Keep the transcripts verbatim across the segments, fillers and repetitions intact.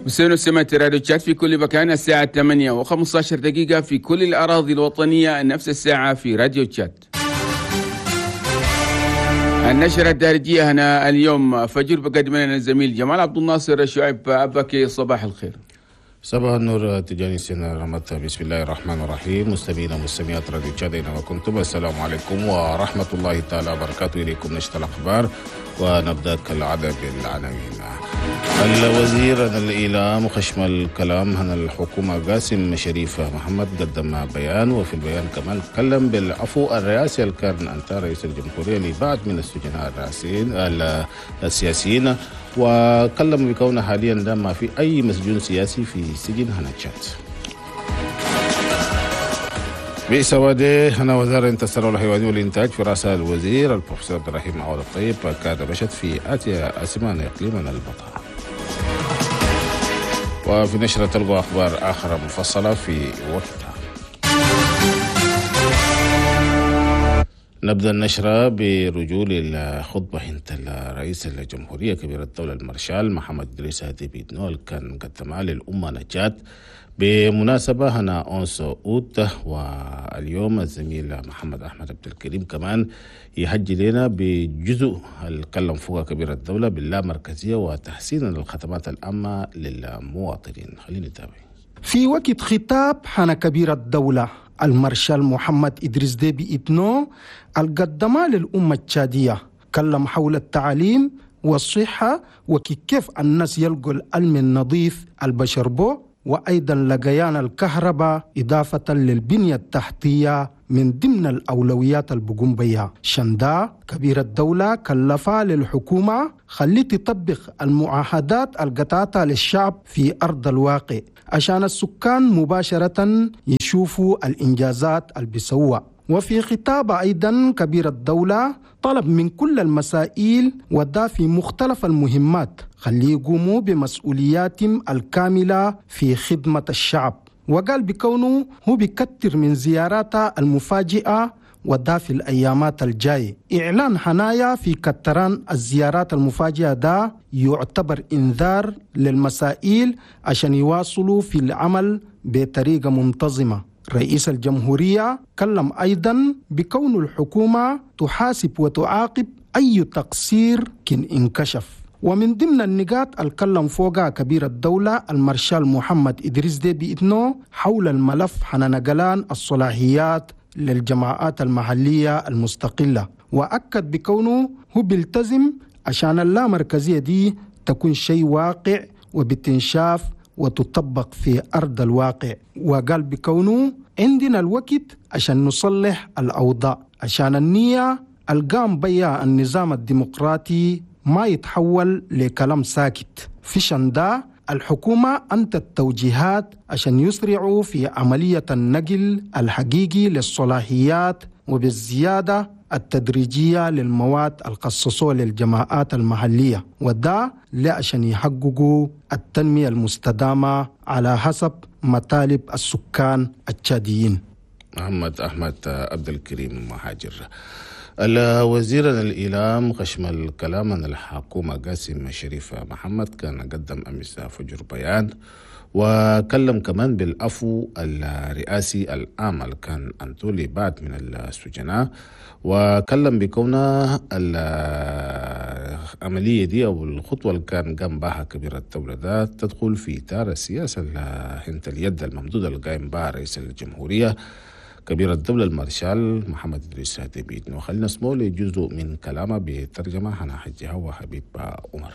مستمعين ومستمعات راديو تشاد في كل مكان، الساعة ثمانية وخمسة عشر دقيقة في كل الأراضي الوطنية، نفس الساعة في راديو تشاد. النشرة الدارجية هنا اليوم فجر بقدم لنا الزميل جمال عبد الناصر شعيب أبكي. صباح الخير. صباح النور تجاني سنة رمت. بسم الله الرحمن الرحيم. مستمعينا ومستمعات راديو تشاد اينما كنتم، السلام عليكم ورحمة الله تعالى وبركاته. إليكم نشرة الأخبار ونبدأ كالعادة بالعناوين. الوزير الإعلام خشم الكلام هنا الحكومة قاسم شريف محمد قدم بيان، وفي البيان كمان تكلم بالعفو الرئاسي اللي كان أنت رئيس الجمهورية لبعض من السجناء الرئاسيين السياسيين، وكلم بكونه حاليا ده ما في أي مسجون سياسي في سجن هنا تشاد. بئس ودي هنا وزارة الثروة الحيوانية والإنتاج في رأس الوزير البروفيسور عبد الرحيم عوض الطيب كان مشت في آتيا أسمان إقليم البطاء. وفي نشرة تلقوا أخبار آخرى مفصلة في وقتها. نبدأ النشرة برجول الخطبة هنت الرئيس الجمهورية كبير الدولة المارشال محمد إدريس ديبي إتنو كان قدمها للأمة نجات بمناسبة هنا أونس أوت. واليوم الزميل محمد أحمد عبد الكريم كمان يحجي لنا بجزء الكلم فوق كبير الدولة باللامركزية وتحسين الخدمات العامة للمواطنين. خلينا نتابع. في وقت خطاب حنا كبير الدولة المارشال محمد إدريس ديبي إتنو القدمة للأمة التشادية، كلم حول التعليم والصحة وكيف الناس يلقوا العلم النظيف البشربو، وأيضا لقيان الكهرباء إضافة للبنية التحتية من ضمن الأولويات البقوم بيها. شندا كبير الدولة كلفا للحكومة خلي تطبق المعاهدات القطاطة للشعب في أرض الواقع عشان السكان مباشرة يشوفوا الإنجازات اللي بيسوها. وفي خطاب أيضا كبير الدولة طلب من كل المسائل ودا في مختلف المهمات خلي يقوموا بمسؤولياتهم الكاملة في خدمة الشعب، وقال بكونه هو بيكتر من زياراته المفاجئة ودا في الأيامات الجاية. إعلان حنايا في كتران الزيارات المفاجئة دا يعتبر إنذار للمسائل عشان يواصلوا في العمل بطريقة منتظمة. رئيس الجمهورية كلم أيضا بكون الحكومة تحاسب وتعاقب أي تقصير كن انكشف. ومن ضمن النقاط الكلم فوقها كبير الدولة المارشال محمد إدريس ديبي إتنو حول الملف حنا نقلان الصلاحيات للجماعات المحلية المستقلة، وأكد بكونه هو بيلتزم عشان اللامركزية دي تكون شيء واقع وبتنشاف وتطبق في أرض الواقع. وقال بكونه عندنا الوقت عشان نصلح الأوضاع عشان النية القام بيها النظام الديمقراطي ما يتحول لكلام ساكت. في شندا الحكومة أنت التوجيهات عشان يسرعوا في عملية النقل الحقيقي للصلاحيات وبالزيادة التدريجية للمواد الخصصوة للجماعات المحلية، وده لعشان يحققوا التنمية المستدامة على حسب مطالب السكان التشاديين. محمد أحمد عبد الكريم مهاجر. الوزير الإعلام خشم الكلام عن الحكومة قاسم شريف محمد كان قدم أمس فجر بيان وكلم كمان بالعفو الرئاسي العام اللي كان أنتولي بعد من السجناء، وكلم بكونه العملية دي أو الخطوة اللي كان قام بها كبير الدولة ده تدخل في إطار السياسة هنت اليد الممدودة اللي قايم بها رئيس الجمهورية كبير الدولة المارشال محمد إدريس ديبي إتنو. خلينا نسمعه لجزء من كلامه بترجمة حنا حجها وحبيب عمر.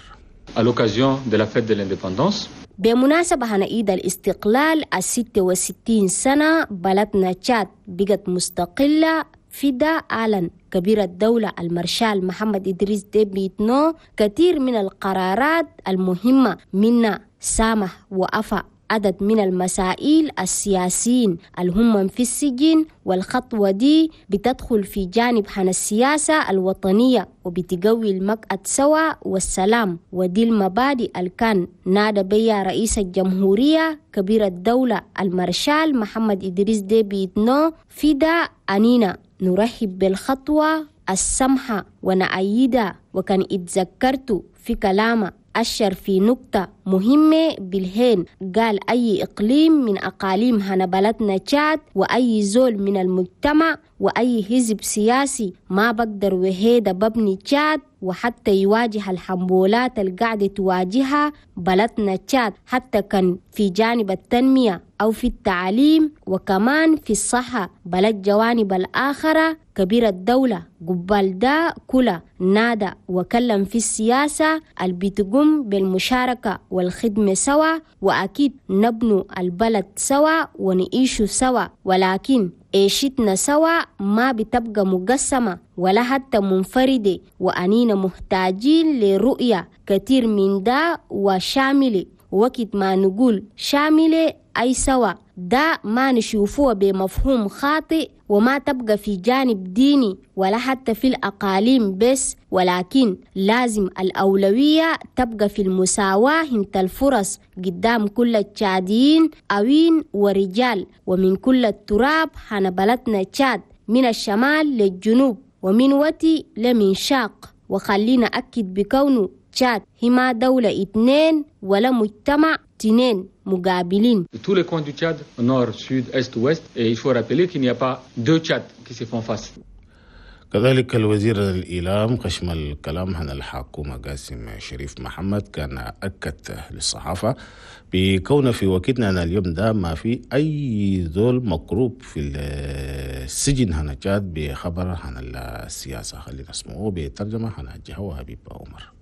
À l'occasion de la fête de l'indépendance. بمناسبة هنا عيد الاستقلال الستة وستين سنة بلدنا تشاد بقت مستقلة، فدا أعلن كبير الدولة المارشال محمد إدريس ديبي إتنو كثير من القرارات المهمة، منها سامح وأفى عدد من المسائل السياسيين الهم في السجن، والخطوة دي بتدخل في جانب حن السياسة الوطنية وبتقوي المقعد سوا والسلام، ودي المبادئ اللي كان نادى بيها رئيس الجمهورية كبير الدولة المارشال محمد إدريس ديبي إتنو. فدا أنينا نرحب بالخطوة السمحة ونأيدها، وكان اتذكرت في كلامه أشر في نقطة مهمة بالهين، قال أي إقليم من أقاليم هنا بلدنا تشاد وأي زول من المجتمع وأي حزب سياسي ما بقدر وهيدا ببني تشاد وحتى يواجه الحنبولات القاعدة تواجهها بلدنا تشاد، حتى كان في جانب التنمية أو في التعليم وكمان في الصحة بلد جوانب الآخرة. كبير الدولة قبال دا كلا نادى وكلم في السياسة اللي بتقوم بالمشاركة والخدمة سوا، وأكيد نبنو البلد سوا ونعيش سوا، ولكن عيشتنا سوا ما بتبقى مقسمة ولا حتى منفردة، وأنينا محتاجين لرؤية كتير من دا وشاملة. وقت ما نقول شاملة أي سوا دا ما نشوفوه بمفهوم خاطئ وما تبقى في جانب ديني ولا حتى في الأقاليم بس، ولكن لازم الأولوية تبقى في المساواة انت الفرص قدام كل التشاديين أوين ورجال ومن كل التراب حنا بلدنا تشاد من الشمال للجنوب ومن وتي لمن شاق. وخلينا أكد بكونه تشاد هما دولة اتنين ولا مجتمع تنين مقابلين. Tous les coins du Tchad, nord, sud, est, ouest, et il faut rappeler qu'il n'y a pas deux Tchads qui se font face. كذلك الوزير الإعلام خشم الكلام عن الحكومة قاسم شريف محمد كان أكد للصحافة بكون في وقتنا أن اليوم ده ما في أي ذول مكروب في السجن هنا تشاد بخبر عن السياسة. خلينا نسمعه بترجمة عن الجهة حبيب عمر.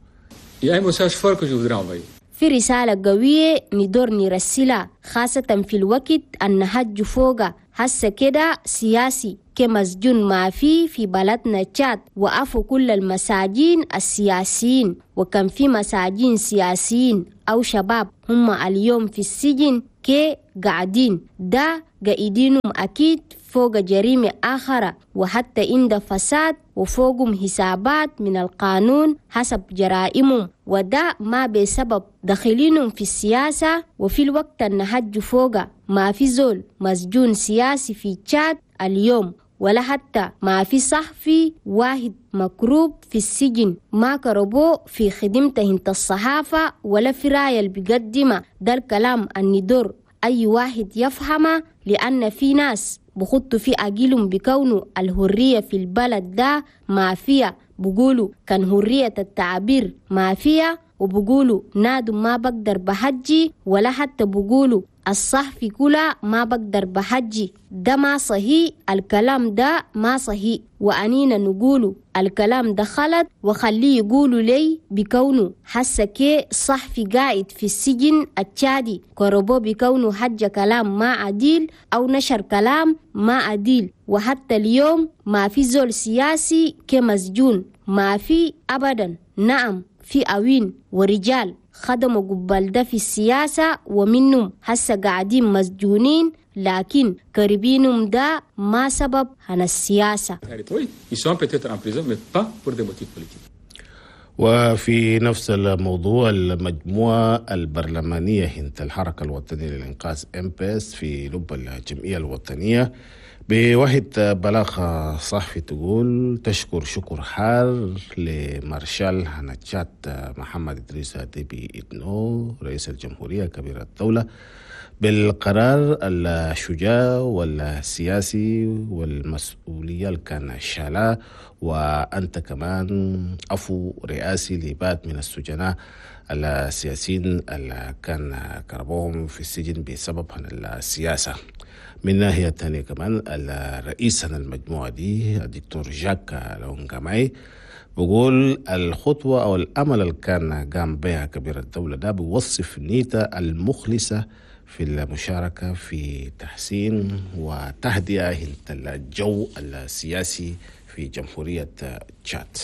Il y a un message fort que je voudrais envoyer. في رسالة قوية ندور نرسلها خاصة في الوقت النهج فوق هسه كده سياسي كمسجون ما في في بلدنا تشاد، وقفوا كل المساجين السياسيين، وكان في مساجين سياسيين أو شباب هم اليوم في السجن كي قاعدين ده قاعدينهم أكيد فوق جريمة آخرة وحتى عند فساد وفوقهم حسابات من القانون حسب جرائمهم، وده ما بسبب دخلينهم في السياسة. وفي الوقت النهج فوق ما في زول مسجون سياسي في تشاد اليوم، ولا حتى ما في صحفي واحد مكروب في السجن ما كربو في خدمته انت الصحافة ولا في راية اللي بيقدمه. ده الكلام الندور أي واحد يفهمه، لأن في ناس بخطوا في أجيلهم بكونه الهرية في البلد ده ما فيها، بقولوا كان هرية التعبير ما فيها، وبقولوا نادو ما بقدر بحجي، ولا حتى بقولوا الصحفي كلها ما بقدر بحجي. ده ما صحيح، الكلام ده ما صحيح، وأنينا نقوله الكلام ده خلط وخليه يقولوا لي بكونه حس كي صحفي قاعد في السجن التشادي كربو بكونه حج كلام ما عديل أو نشر كلام ما عديل. وحتى اليوم ما في زول سياسي كمسجون ما في أبدا. نعم في أوين ورجال خدموا قبل ده في السياسة ومنهم هسه قاعدين مسجونين، لكن قريبينهم ده ما سبب عن السياسة. وفي نفس الموضوع المجموعة البرلمانية هنت الحركة الوطنية للإنقاذ إم بي إس في لب الجمعية الوطنية بواحد بلاغ صحفي تقول تشكر شكر حار لمارشال هنتشات محمد إدريس ديبي إتنو رئيس الجمهورية كبير الدولة بالقرار الشجاع والسياسي والمسؤولية اللي كان شالا، وأنت كمان أفو رئاسي لبات من السجناء السياسيين اللي كان كربوهم في السجن بسبب السياسة. من ناحية تانية كمان الرئيس المجموعة دي الدكتور جاك لونجاماي بقول الخطوة أو الأمل اللي كان قام بها كبير الدولة ده بيوصف نيته المخلصة في المشاركة في تحسين وتهدئة الجو السياسي في جمهورية تشاد.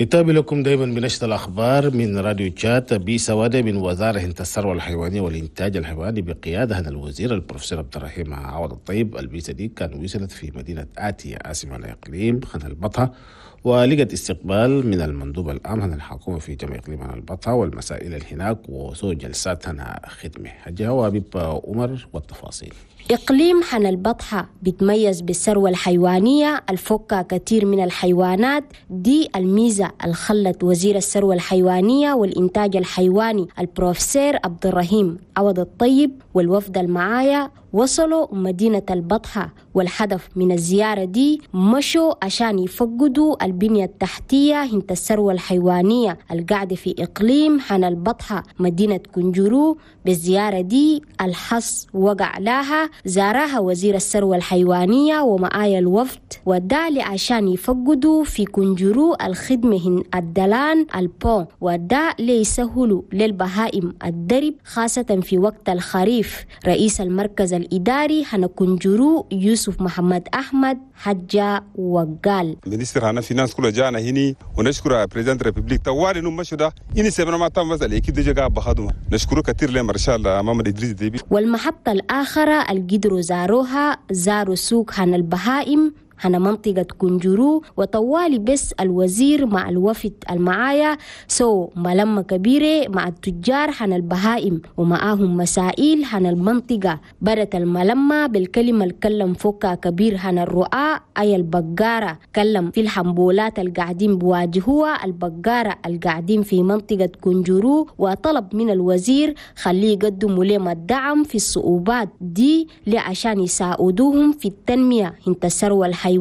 نتابع لكم دائما بنشر الأخبار من راديو تشاد بسوادة من وزارة الثروة الحيوانية والإنتاج الحيواني بقيادة الوزير البروفيسور عبد الرحيم عوض الطيب. البيسة دي كان وصلت في مدينة آتيا عاصمة الإقليم خان البطة، ولقت استقبال من المندوب العام هنا الحكومة في جميع إقليم البطحة والمسائل هناك وسو جلسات هنا خدمة. حجة وبيب عمر والتفاصيل. إقليم حنا البطحة بيتميز بالثروة الحيوانية الفكة كثير من الحيوانات، دي الميزة الخلت وزير الثروة الحيوانية والإنتاج الحيواني البروفيسور عبد الرحيم عوض الطيب والوفد المعايا وصلوا مدينة البطحة، والهدف من الزيارة دي مشوا عشان يفقدوا البنية التحتية هنت الثروة الحيوانية القاعدة في إقليم حنا البطحة مدينة كنجرو. بالزيارة دي الحص وقع لها زارها وزير الثروة الحيوانية ومعايا الوفد، وده عشان يفقدوا في كنجرو الخدمة هن الدلان البون، وده ليسهلوا للبهائم الدرب خاصة في وقت الخريف. رئيس المركز الإداري هنا كنجرو يوسف محمد أحمد حجة وقال ministre هنا finance كله جانا هني ونشكر président république طوال انه مشوا ده إني سبنا ما تم بس ال équipe دي جا بخدمه نشكره كثير لمارشال محمد إدريس ديبي. والمحطة الآخرة القدروا زاروها زاروا سوق هنا البهائم هنا منطقة كنجرو، وطوالي بس الوزير مع الوفد المعايا سو ملمة كبيرة مع التجار هنا البهائم ومعاهم مسائل هنا المنطقة. بدت الملمة بالكلمة الكلم فوكا كبير هنا الرؤى أي البقارة، كلم في الحنبولات القاعدين بواجهوها البقارة القاعدين في منطقة كنجرو، وطلب من الوزير خليه يقدموا لهم الدعم في الصعوبات دي لعشان يساعدوهم في التنمية هنت الثروة الحيوانية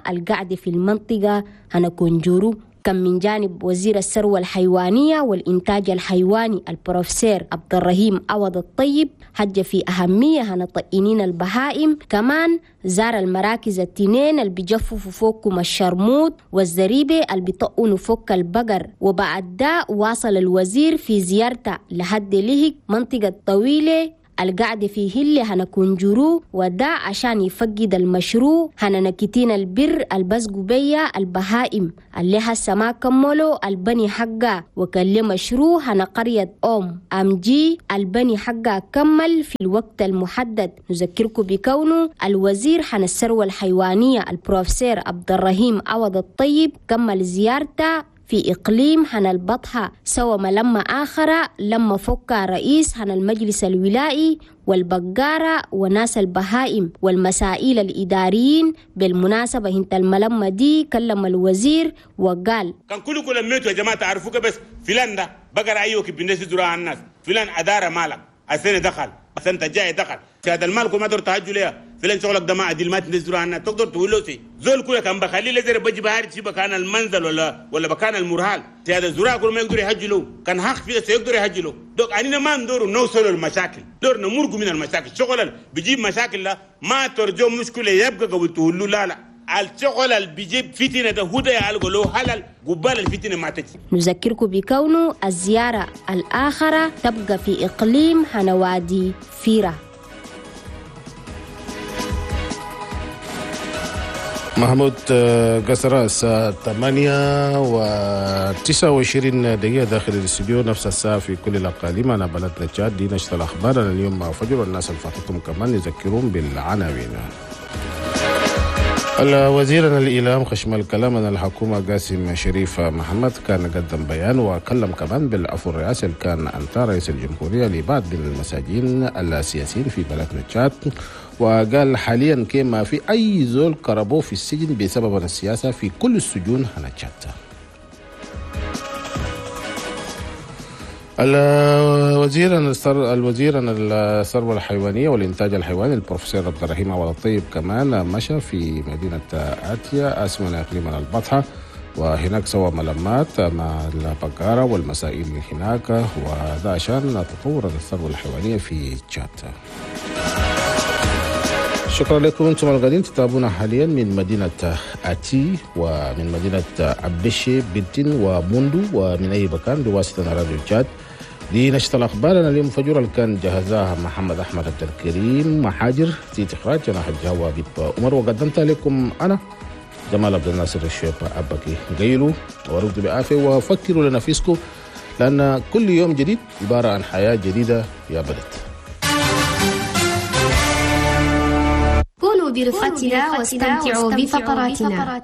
القاعدة في المنطقة هنا كنجرو. كان من جانب وزير الثروة الحيوانية والإنتاج الحيواني البروفيسور عبد الرحيم عوض الطيب حج في أهمية هنا طئنين البهائم، كمان زار المراكز التنين اللي بيجففوا فوقكم الشرموط والزريبة اللي بيطقنوا فوق البقر. وبعد ده واصل الوزير في زيارته لحد لهك منطقة طويلة القعدة في هلة هنا كنجرو، وده عشان يفقد المشروع هنا نكتين البر البسقو بيا البهائم اللي هسه ما كملوا البني حقا، وكل مشروع هنا قرية أم أمجي البني حقا كمل في الوقت المحدد. نذكركم بكونه الوزير هنا الثروة الحيوانية البروفيسور عبد الرحيم عوض الطيب كمل زيارته في إقليم هنا البطحة سوى ملمة آخرة لما فك رئيس هنا المجلس الولائي والبقارة وناس البهائم والمسائل الإداريين. بالمناسبة هنت الملمة دي كلم الوزير وقال كان كلكم لميتوا يا جماعة تعرفوك بس فلان ده بقر أيوك بالناس زراعة الناس فلان أدارة مالك السنة دخل السنة الجاية دخل هذا المال ما تقدر تهجوا ليه فلان شغلك ده ما عدل ما تنزلوا عنا تقدر تقول له سي زول كله كان بخليه لزر بجي بهاري شي بكان المنزل ولا ولا بكان المرهال هذا الزراعة كل ما يقدر يهجلوا كان حق في يقدر يهجلوا دوك اننا ما ندور نوصلوا المشاكل دور نمرق من المشاكل شغل بيجيب مشاكل لا ما ترجو مشكله يبقى قبل تقول له لا لا الشغل اللي بيجيب فتنه ده هدى يعالجوا له حلال قبال الفتنه ما تجي. نذكركم بكونه الزياره الاخره تبقى في اقليم هنوادي فيرة. محمود قصر الساعة ثمانية وتسعة وعشرين دقيقة داخل الاستوديو، نفس الساعة في كل الأقاليم. أنا بلدنا تشاد دي نشرة الأخبار أنا اليوم مع فجر، والناس اللي فاتتهم كمان يذكرون بالعناوين. الوزير الإعلام خشم الكلام أن الحكومة قاسم شريف محمد كان قدم بيان وكلم كمان بالعفو الرئاسي اللي كان أنت رئيس الجمهورية لبعض من المساجين السياسيين في بلدنا تشاد، وقال حاليا كما في أي زول كربوه في السجن بسبب السياسة في كل السجون هنا تشاد. الوزير الوزير الثروة الحيوانية والإنتاج الحيواني البروفيسور عبد الرحيم عوض الطيب كمان مشى في مدينة آتيا أسمنا إقليم البطحة، وهناك سوى ملمات مع البقارة والمسائل هناك، وهذا عشان تطور الثروة الحيوانية في تشاد. شكرا لكم انتم الغالين تتابعونا حاليا من مدينة أتي ومن مدينة أبشي بنتين وموندو ومن أي مكان بواسطة راديو تشاد. دي نشرة الأخبار أنا اليوم فجر اللي كان جهزها محمد أحمد عبد الكريم محاجر في إخراج أنا حجاوة بيب عمر، وقدمتها لكم أنا جمال عبد الناصر الشيب أبكي. قيلوا ورقدوا بعافية وفكروا لنفسكم، لأن كل يوم جديد عبارة عن حياة جديدة يا بلد. كونوا برفقتنا واستمتعوا بفقراتنا.